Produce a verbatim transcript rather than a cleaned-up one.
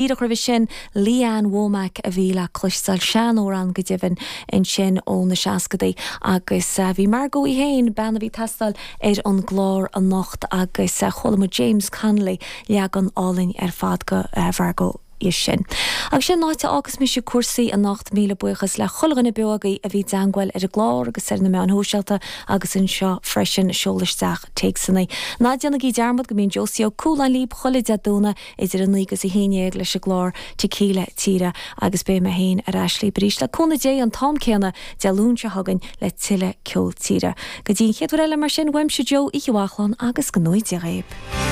Díreach roimhe sin Lee Ann Womack a bhí le cloisteáil seanamhrán go deimhin ansin ó na seascadaí agus uh, bhí Margot í féin bean a bhí teastáil ar an gclár anocht agus uh, chuala muid James Connolly leagan álainn ar fad go uh, Margot í sin. Agus sin áit agus mise cúrsaí anocht míle buíochas le chuile dhuine beo agaibh a bhí i dteagmháil ar an gclár agus ar na meáin shóisialta agus anseo freisin seol isteach téacsanna. Ná déanaigí dearmad go mbíonn Josie Ó Cualáin libh chuile Dé Domhnaigh idir a naoi agus a haon déag leis an gclár Tequila Tíre agus beidh mé féin ar ais libh arís le cúnamh Dé an t-am céanna Dé Luain seo chugainn le tuilleadh ceol tíre. Go dtí an chéad uair eile mar sin uaimse Joe Uí Bhachlán agus go ngnóthaí Dia dhaoibh.